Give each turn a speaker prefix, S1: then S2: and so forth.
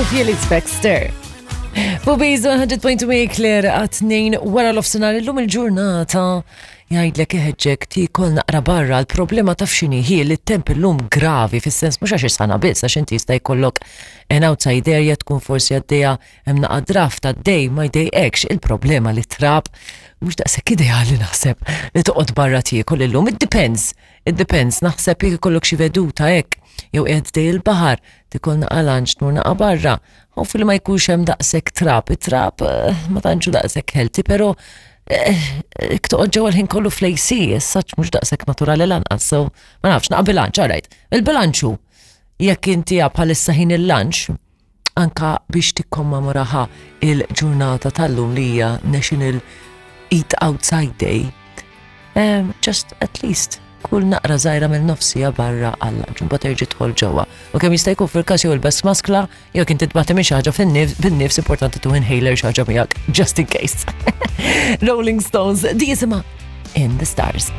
S1: Sophie Elise Baxter. Fubiz 100.2 Claire għat-tnejn wara l-ofsenar illum il-ġurnata jgħidlek iħeġġek tiekol naqra barra l-problema taf x'inhi hi li t-temp illum gravi fis-sens mhux għax is-sana biss għax inti jista' jkollok an outside area tkun forsi għaddejja hemm naqa' draft għaddej ma jdejqekx il-problema li trab mhux daqshekk ideali naħseb li toqgħod barra tiekol illum. It depends, it depends, naħseb jekk ikollok xi veduta hekk jew qiegħed dej il-baħar tikol naqa' lunch tmur naqa' barra. Hopefully ma jkunx hemm daqshekk trab, it-trab eh, ma tantx daqshekk healthy, però eh, jekk toqgħod ġewwa l-ħin kollu fl-AC, as such mhux daqshekk naturali lanqas, so ma nafx, naqa' bilanċ, all right. Il-bilanċ hu jekk inti bħalissa ħin il-lunch, anka biex tikkommemoraha il-ġurnata tal-lum li hija National Eat Outside Day, um, just at least kull naqra żgħira mill-nofsija barra għal lunch, mbagħad terġi' tidħol ġewwa. U kemm jista' jkun fil-każ jew ilbes maskla, jew kien titbati minn xi ħaġa fin-nifs importanti tu inhaler xi ħaġa miegħek, just in case. Rolling Stones, di jisimha In the Stars.